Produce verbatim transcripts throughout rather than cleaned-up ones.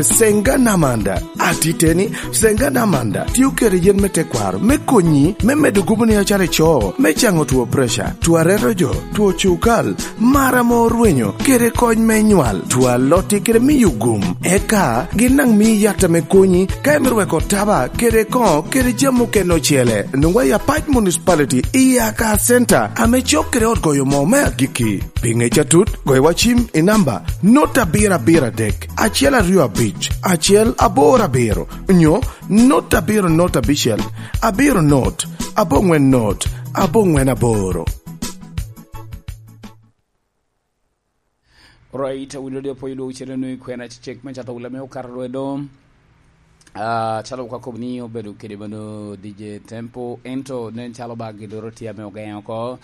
Senga Namanda. Atiteni, Senga Namanda tio kede yen me tekwaro me konyi me medo gubo ni acalo ico, me caŋo two preca, two areto jo, two cukal, mar ame orwenyo, kede kony me nywal, two alotti kede miyo gum. Eka gin daŋ mii yat ame konyi ka imito weko taba kede koŋo kede jami okene ocele. Nwoŋwa i Apac Municipality i Aka Center ame cok kede ot goyo moo me agikki. Pi ŋec atut, goyo wa cim i namba not abiro abiro adek, acel aryo abic, acel aboro abiro, nyo not abiro not abicel, abiro not, aboŋwen not, aboŋwen aboro. Right, awinyo di apoyo dwogo cene nui kwena cecek me cato wula me okato lwedo. Ah, calo ka kobo ni obedo kede mano D J Tempo, ento nen calo ba gidoro tye ame ogeŋo oko.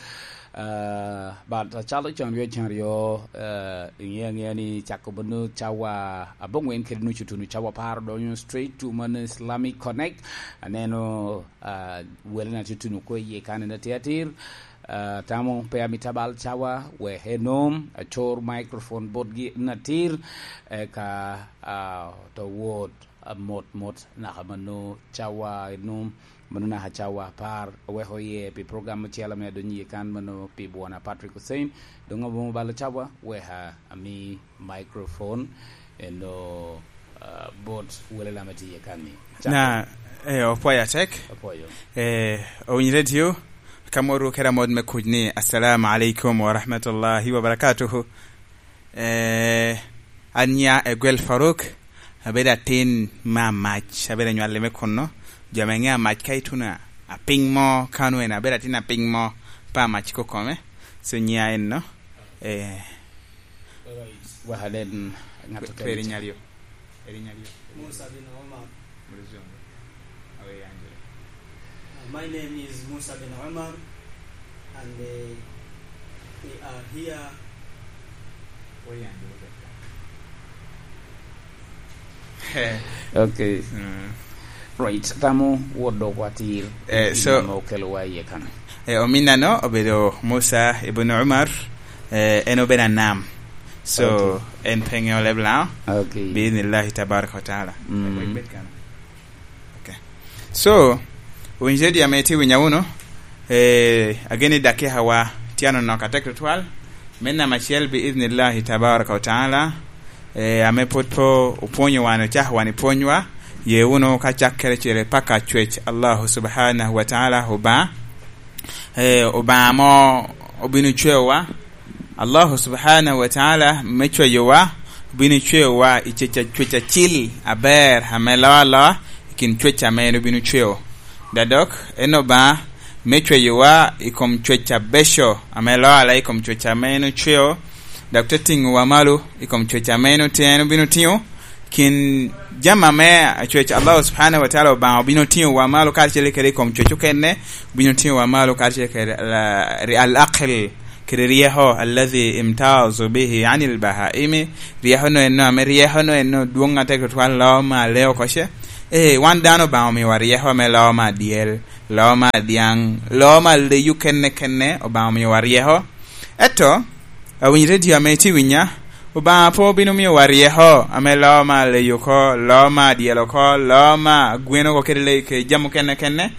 Ah, but calo can ryo, can ryo, ah, iŋe aŋea ni cako mano cawa aboŋwen kede nucu tunu cawa apar donyo straight to mano Islamic Connect. Aneno, ah, wele na tutuno ko iye kan en atir atir. Ah, tamo pe amito abal cawa, wek enom, acor microphone botgi en atir, eka, ah, to wot, ah, mot mot naka mano cawa enom, mano naka cawa apar, aweko iye pi program ocel ame adonyo iye kan mano pi bwona Patrick Hussein, doŋ abomo balo cawa, weka ami microphone eno, ah, bot wele lama tye iye kan ni. Cako. Na, eh, opwoyo atek. Opwoyo. Eh, owiny radio, ka moro kera mod me kuc ni, "Assalamu alaikum wa rahmatullahi wa barakatuhu." Eh, an nya Egwel Faruk, abedo atin me Amac, abedo anywalli me kunno. Jo ame ŋe Amac ka ituno apiny mo, ka onwene abedo atin apiny mo, pa Amac kokome. So nya enno, eh, Wek anen ŋat okene. Pe eri nyalyo. Eri nyalyo. Musa bin Omar. Mulizungu. Awe yanjule. Uh, my name is Musa bin Omar, and, uh, we are here. We yanjule. Okay. Mm. Right, tamo wot dok watir. Eh, so, ame okelowa iye kan. Eh, ominano obedo Musa ibn Umar, eh, en obedo anam. So, okay, en pe ŋeo leb Laŋo. Okay. Bi idhnillahi tabaraka wa taala. Mm. Eh, wek bed kan. Okay. So, owinyo di ame itye winyo wunu, eh, ageni dakika wa tye anonok atek tutwal. Me namba acel, bi idhnillahi tabaraka wa taala, eh, ame pwod pe opwonyo wan, ocako wan i pwonywa, ye wunu ka cakkere cire paka cwec Allahu subhanahu wa taala Obaŋa. Eh, Obaŋa mo obino cweyowa. Allahu subhanahu wa taala me cweyowa, obino cweyowa i cwec a-, cwec acil aber ame loo aloa i kin cwec ame en obino cweyo. Dadok, en Obaŋa me cweyowa i kom cwec abeco ame loo aloa i kom cwec ame en ocweyo, dok te tiŋowa malo i kom cwec ame en otye-, en obino tiŋo, kin jami ame acwec Allah subhanahu wa taala Obaŋa obino tiŋowa malo karacel kede i kom cwec okene, obino tiŋowa malo karacel kede al-, al-aql, kede ryeko, alladhi imtazu bihi anil bahaimi, ryeko no enno, ame ryeko no enno dwoŋ atek tutwal loo ma lee oko ce. Ee, wan dano Obaŋa omiowa ryeko ame loo ma adyel, loo ma adyaŋ, loo ma leyi okene kene, Obaŋa omiowa ryeko. Eto, awiny redio ame itye winya, Obaŋa pe obino miyowa ryeko ame loo ma leyi oko, loo ma adyel oko, loo ma gwen oko kede leyi kede jami okene kene.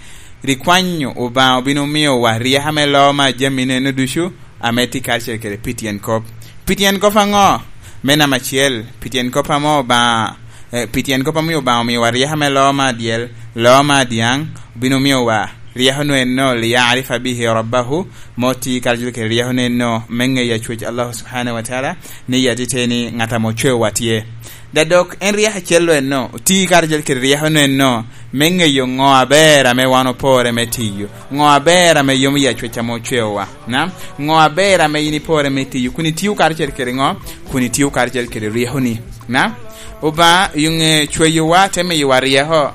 Rik kwanyo Obaŋa obino miyowa ryeko ame loo ma jami neno ducu, ame tye karacel kede pi tyen kop. Pi tyen kop aŋo? Me namba acel, pi tyen kop ame Obaŋa, eh, pi tyen kop ame Obaŋa omiowa ryeko ame loo ma adyel, loo ma adyaŋ, obino miyowa ryeko no enno, "Liyarifa bihi rabbahu", mo ti karacel kede ryeko no enno, me ŋeyo acwec Allah subhanahu wa taala, ni yati teni ŋat ame ocwewa tye. Da dok en ryeko acel lo enno, oti karacel kede ryeko no enno, me ŋeyo ŋo aber ame wan opore me tiyo, ŋo aber ame yomo i acwec ame ocweowa. Na, ŋo aber ame in ipore me tiyo, kun itio karacel kede ŋo? Kun itio karacel kede ryekoni. Na, Obaŋa i ŋe cweyowa te miyowa ryeko,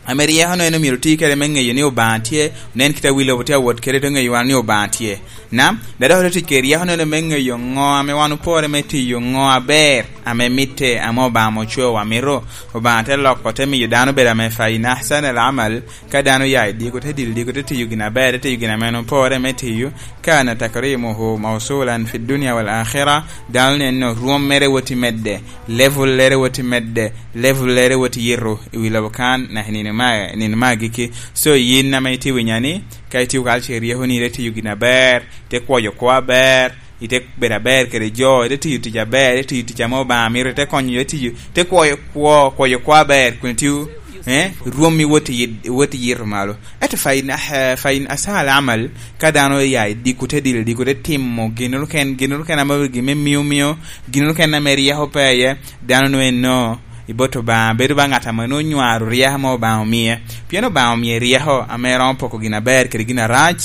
ame ryeko no en omyero oti kede me ŋeyo ni Obaŋa tye, onen kite a wi lobo tye awot kede, te ŋeyo wan ni Obaŋa tye. Na, dada oro tic kede ryeko nono me ŋeyo ŋo ame wan opore me tiyo, ŋo aber ame mitte, ame Obaŋa ocweowa mito. Obaŋa te loko, te miyo dano bedo ame fa in ahsana al amal, ka dano oya i diko, te dilo diko, te tiyo gin aber, te tiyo gin ame en opore me tiyo, kana takrimuhu mawsulan fi dunya wal akhira, dano neno rwom mere wot i medde, level lere wot i medde, level lere wot i yito i wi lobo kan, naka i nino ma, nino ma agikki. So, yin ame itye winya ni, ka itio kacel kede ryeko ni, ite tiyo gin aber, ite kwoyo kwo aber, ite bedo aber kede jo, ite tiyo tic aber, ite tiyo tic ame Obaŋa mito, ite konyo jo, ite tiyo, ite kwoyo kwo, kwoyo kwo aber, kun itio, eh, rwommi wot i yit-, wot i yito malo. Ento fa in, eh, fa in ahsana al amal, ka dano oya i diko, te dilo diko, te timo gin keken, gin keken ame gin me mio mio, gin keken ame ryeko pe iye, dano nwoŋo eno, i bot Obaŋa, bedo ba ŋat ame nwoŋo nywaro ryeko ame Obaŋa omie. Pien Obaŋa omie ryeko ame romo poko gin aber kede gin arac,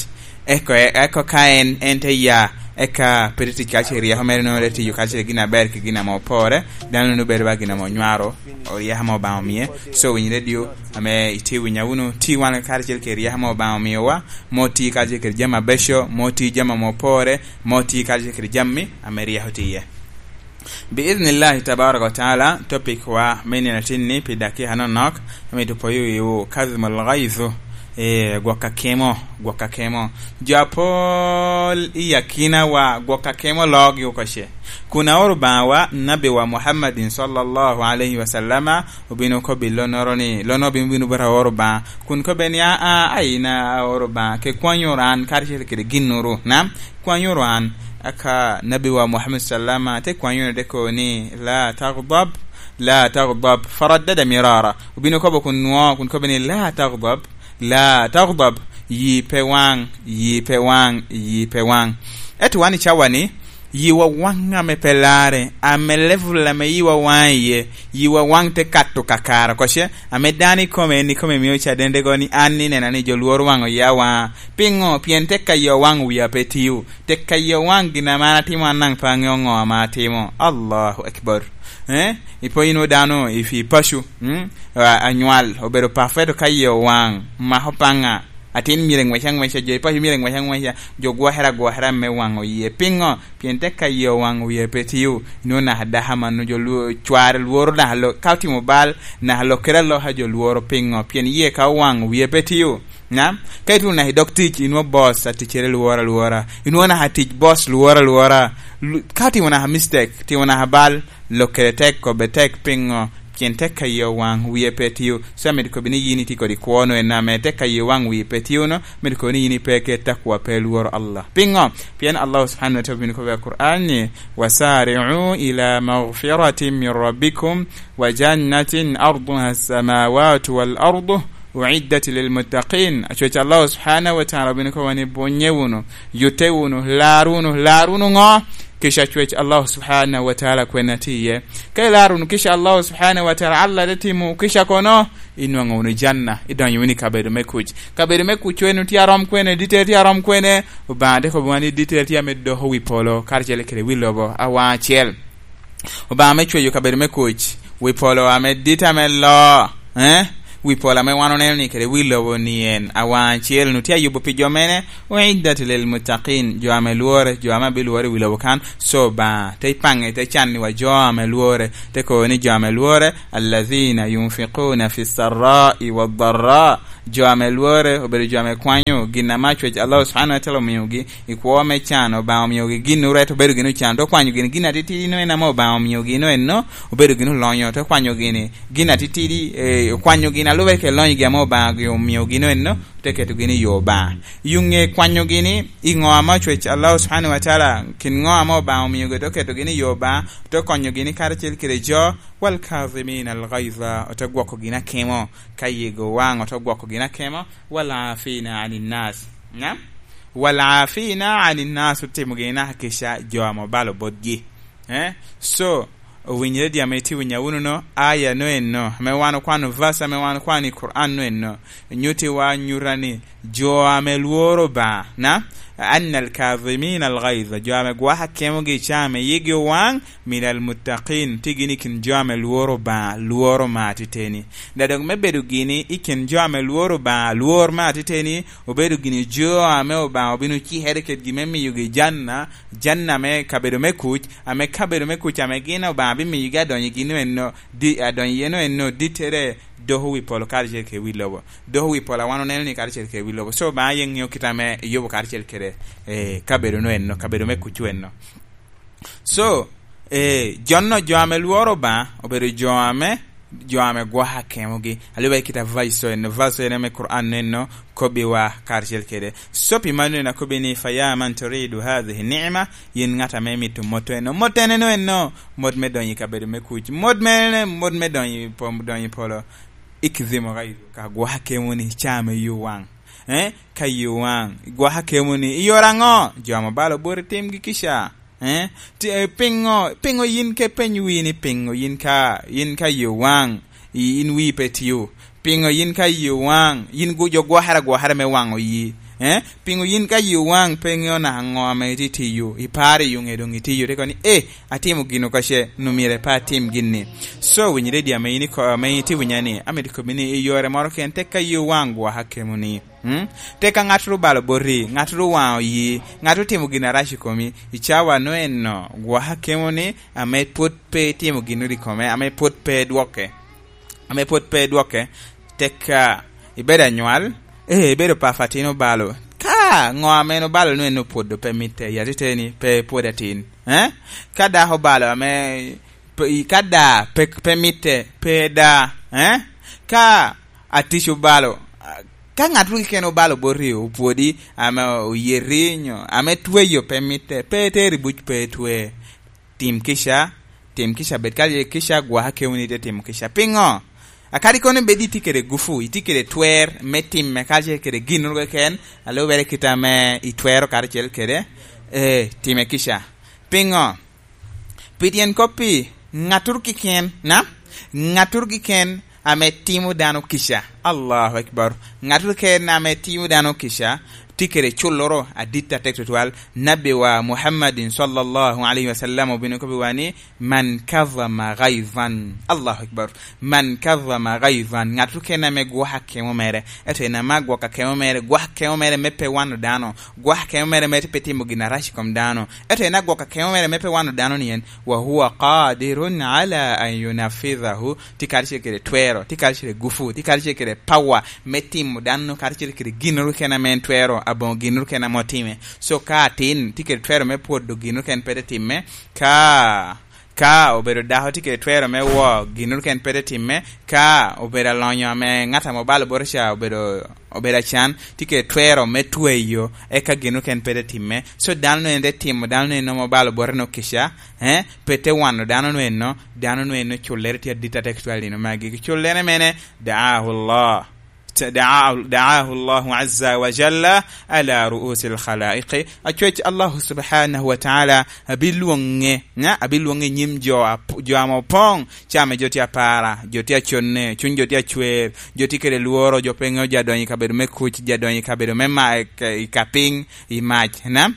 eko, eko ka en, en te ya, eka pe te tic kacel ryeko mere, nwoŋo te tiyo kacel gin aber kede gin ame opore, dano nwoŋo bedo ba gin ame onywaro ryeko ame Obaŋa omie. So, winy redio ame itye winya wunu, ti wan karacel kede ryeko ame Obaŋa omiowa, mo ti kacel kede jami abeco, mo ti jami ame opore, mo ti kacel kede jami ame ryeko tye iye. Biiznillahi tabaraka wa taala, topic wa me nino atin-ni pi dakika nonok, amito poyo wiwu, kazimul ghaiz, eh, gwok akemo, gwok akemo. Jo apol i akinawa gwok akemo loogi oko ce. Kun aoro Obaŋawa, Nabbi wa Muhammadin sallallahu alaihi wa sallama, obino kobbi lonnoro ni, lonnoro bino bino bot aoro Obaŋa. Kun kobbe ni, "Aa, aa, aina aoro Obaŋa, ke kwanyoro an karacel kede ginnoro." Na? Kwanyoro an, aka Nabbi wa Muhammad sallama te kwanyoro, te kobo ni, "La taghdab, la taghdab." Faraddada mirara. Obino kobo kun nwo, kun kobo ni, "La taghdab, la taghdab." Yi pe waŋ, yi pe waŋ, yi pe waŋ. Ento wan i cawa ni, yiwa waŋ ame pe larre, ame level ame yiwa waŋ iye, yiwa waŋ te kato kakare oko ce, ame dano ikome, en ikome mio cadendego ni an inena ni jo lworo waŋ oya waŋa. Piŋo? Pien tek ka yi owaŋ wia pe tio. Tek ka yi owaŋ gin ame an atimo, an daŋ pe aŋeo ŋo ame atimo. Allahu Akbar. Eh? Ipo yin dano i fi paco, mm? A-, anywal, obedo perfect ka yi owaŋ, mako paŋa. Atin myero ngwec aŋweca, jo i paco myero ngwec aŋweca, jo gwokere agwokera me waŋo yie. Piŋo? Pien tek ka yi owaŋ wia pe tio. Inwoŋo naka dako amanno jo lwo-, cware lworo naka lo-, ka otimo bal, naka lokere aloka jo lworo. Piŋo? Pien yie ka owaŋ wia pe tio. Na, ka ituno naka i dog tic, inwoŋo boss a ticcere lworo alwora. Inwoŋo naka tic boss lworo alwora. Lu-, ka timo naka mistake, timo naka bal, lokere tek, kobbe tek, piŋo? Pien tek ka yi owaŋ, wie pe tio. So, amito kobbi ni yin itye kodi kwo-nu en ame tek ka yi owaŋ, wie pe tio-nu, amito kobbi ni yin ipe ket takwa, pe lworo Allah. Piŋo? Pien Allah subhanahu wa ta'ala obino kobbe i Kur'an ni, "Wasari'u ila maghfiratin min rabbikum wa jannatin arduha as-samawatu wal ardu." Uiddat lil muttaqin. Acwec Allah subhanahu wa ta'ala obino kobo ni, "Bunye wunu, yute wunu, lar wunu, lar wunu ŋo? Kica acwec Allah subhanahu wa ta'ala kwen atye iye." Ka ilar wunu kica Allah subhanahu wa ta'ala, Allah te timo kica kono, inwoŋo wunu janna, idonyo wunu i kabedo me kuc. Kabedo me kuc wenu tye arom kwene, dite tye arom kwene, Obaŋa te kobo ni dite tye ame doko wi polo, karacel kede wi lobo, awaŋ acel. Obaŋa ame cweyo kabedo me kuc, wi polo ame dit ame lo, eh? Wi polo ame wan oneno ni kede wi lobo ni en awaŋ acel, nu tye ayubo pi jo mene, uiddat lil muttaqin, jo ame lwore, jo ame abilwore i wi lobo kan. So Obaŋa te paŋe, te can ni wa jo ame lwore, te kobo ni jo ame lwore, allazina yunfiquna fi sarra'i wa dharra, jo ame lwore, obedo jo ame kwanyo gin ame acwec Allah subhanahu wa ta'ala omiogi, i kwo me can, Obaŋa omiogi gin oret obedo gin ocan, te okwanyo gini gin atitidi no en ame Obaŋa omiogi no en no, obedo gin olonyo, te okwanyo gini gin atitidi, eh, okwanyo gin alube ke lonyogi ame Obaŋa gi omiogi no en no, te keto gini i yo Obaŋa. Yo ŋe kwanyo gini, i ŋo ame ocwec Allah subhanahu wa ta'ala, kin ŋo ame Obaŋa omiogi, te oketo gini i yo Obaŋa, te okonyo gini karacel kede jo, wal kazimin al ghaiza, ote gwoko gin akemo, ka yego waŋ, ote gwoko gin akemo, wal afina anin nas. Na? Wal afina anin nas, otimo gini naka kica jo ame obalo botgi. Eh? So, owinyere di ame itye winya wunu no, aya no en no, ame wan okwano, verse ame wan okwano i Quran no en no, nyuti wa nyuta ni, jo ame lworo Obaŋa, na? "Anna al-kadhimina al-ghayza", jo ame gwoko akemogi i caa ame yigi owaŋ, "min al-muttaqin", tye gini i kin jo ame lworo Obaŋa, lworo Obaŋa atiteni. Da dok me bedo gini i kin jo ame lworo Obaŋa, lwor me atiteni, obedo gini jo ame Obaŋa obino cikere kedgi me miyogi janna, janna me kabedo me kuc, ame kabedo me kuc ame gin Obaŋa bimiyogi adonyo i gin eno, di-, adonyo i eno eno dittere doko wi polo karacel kede wi lobo. Doko wi polo a wan oneno ni karacel kede wi lobo. So, Obaŋa aye ŋeo kite ame eyubo karacel kede, eh, kabedo no eno, kabedo me kuc eno. So, eh, jo-nu, jo ame lworo Obaŋa, obedo jo ame, jo ame gwoko akemogi. Alube kite a verse eno, verse eno me Quran eno, kobbiwa karacel kede. So, pi mano eno akobbi ni, "Fa ya man turidu hadhihi ni'ma", yin ŋat ame imito mot eno. Mot eno eno, mot me donyo i kabedo me kuc. Mot me, mot me donyo i pom-, donyo i polo. "Ikdhimu ghaizu", ka gwoko akemo ni, caa me yo waŋ. Eh? Ka yo waŋ. Gwoko akemo ni, "Iyoro aŋo?" Jo ame obalo boti timgi kica. Eh? Ti-, eh, piŋo, piŋo yin ke peny wii ni piŋo yin ka, yin ka yo waŋ, i-, in wii pe tio? Piŋo yin ka yo waŋ, yin gu-, jo gwokere agwokere me waŋo yi? Eh? Piŋo yin ka yo waŋ pe ŋeo naka ŋo ame itye tiyo? Iparo i yo ŋe doŋ itiyo, te kono ni, "Eh, atimo gino kace, nu myero pe atim gin-ni." So, winyi ready ame in iko-, ame itye winya ni, amito kobbi ni i yore moro ken, tek ka yo waŋ gwoko akemo ni. Mm? Tek ka ŋattoro obalo boti, ŋattoro owaŋo yi, ŋattoro otimo gin arac i komi, i cawa no eno, gwoko akemo ni, ame pwod pe itimo ginnoro i kome, ame pwod pe idwoke, ame pwod pe idwoke, tek ka ibedo anywal, eh, ibedo papo atin obalo. Ka ŋo ame en obalo no en opwodo pe mitte, i atiteni pe pwod atin. Eh? Ka dako obalo ame pe, i, ka da pe, pe mitte, pe da. Eh? Ka atic obalo, ka ŋat ru keken obalo boti, opwodi, ame oyeti, nyo ame tweyo pe mitte, pe teri buc, pe twe. Tim kica, tim kica, bed kadi kica, gwok akemo ni ite timo kica. Piŋo? Akadi kono bed itye kede gufu, itye kede twer me timme karacel kede ginnoro keken, a lubere kite ame itwero karacel kede, eh, time kica. Piŋo? Pi tyen kop-pi, ŋattoro keken, na? Ŋattoro keken ame timo dano kica. Allahu Akbar. Ŋattoro keken ame timo dano kica, tye kede culloro adit atek tutwal. Nabbiwa Muhammadin sallallahu alaihi wasallam obino kobbiwa ni, "Man kadhama ghaizan." Allahu Akbar. "Man kadhama ghaizan." Ŋattoro keken ame gwoko akemo mere. Ento en ame agwoko akemo mere, gwoko akemo mere me pe wano dano. Gwoko akemo mere me pe timo gin arac i kom dano. Ento en agwoko akemo mere me pe wano dano ni en, "Wa huwa qadirun ala an yunafidhahu." Tye karacel kede twero, tye karacel kede gufu, tye karacel kede pawa me timo dano karacel kede ginnoro keken ame en twero, aboŋo ginnoro keken ame otime. So ka atin, tye kede twero me pwodo ginnoro keken pe te timme, ka, ka obedo dako tye kede twero me wo ginnoro keken pe te timme, ka obedo alonyo ame ŋat ame obalo boti ca obedo, obedo acan, tye kede twero me tweyo, eka ginnoro keken pe te timme. So dano-nu en te timo, dano-nu en nwoŋo obalo bote-nu kica, eh, pe te wano dano-nu eno, dano-nu eno cullere tye adit atek tutwal i nino magi. Cullere mene, da'ahu Allah. Da'a-, da'ahu Allahu azza wa jalla ala ru'usil khalaiqi. Acwec Allahu subhanahu wa ta'ala abilwoŋe, ŋa? Abilwoŋe i nyim jo ap-, jo ame opoŋ, caa ame jo tye apara, jo tye aconne, cuny jo tye acwer, jo tye kede lworo, jo pe ŋeo, jo adonyo i kabedo me kuc, jo adonyo i kabedo me ma-, i ka-, i ka piny, i mac, na?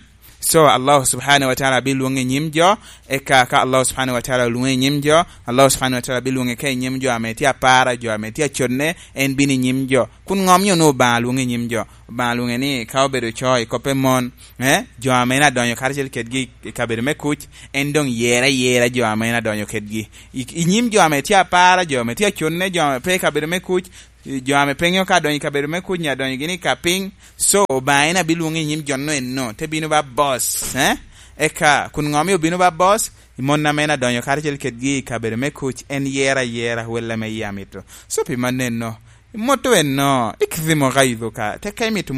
So, Allah subhanahu wa ta'ala abilwoŋe i nyim jo, eka ka Allah subhanahu wa ta'ala olwoŋe i nyim jo, Allah subhanahu wa ta'ala abilwoŋe ka i nyim jo ame tye apara, jo ame tye aconne, en bino i nyim jo. Kun ŋo omio onwoŋo Obaŋa lwoŋe i nyim jo? Obaŋa lwoŋe ni ka obedo co i kop pe mon, eh, jo ame en adonyo karacel kedgi i kabedo me kuc, en doŋ yere ayera jo ame en adonyo kedgi. I, i nyim jo ame tye apara, jo ame tye aconne, jo ame pe i kabedo me kuc, jo ame pe ŋeo ka adonyo i kabedo me kuc nyo adonyo gini i ka piny. So, Obaŋa en abilwoŋe i nyim jo-nu eno, te bino ba boss, eh? Eka, kun ŋo omio obino ba boss? I mon ame en adonyo karacel kedgi i kabedo me kuc, en yero ayera wel ame yie amito. So, pi mano eno, moto eno, ikdhimo gaido ka, te ka imito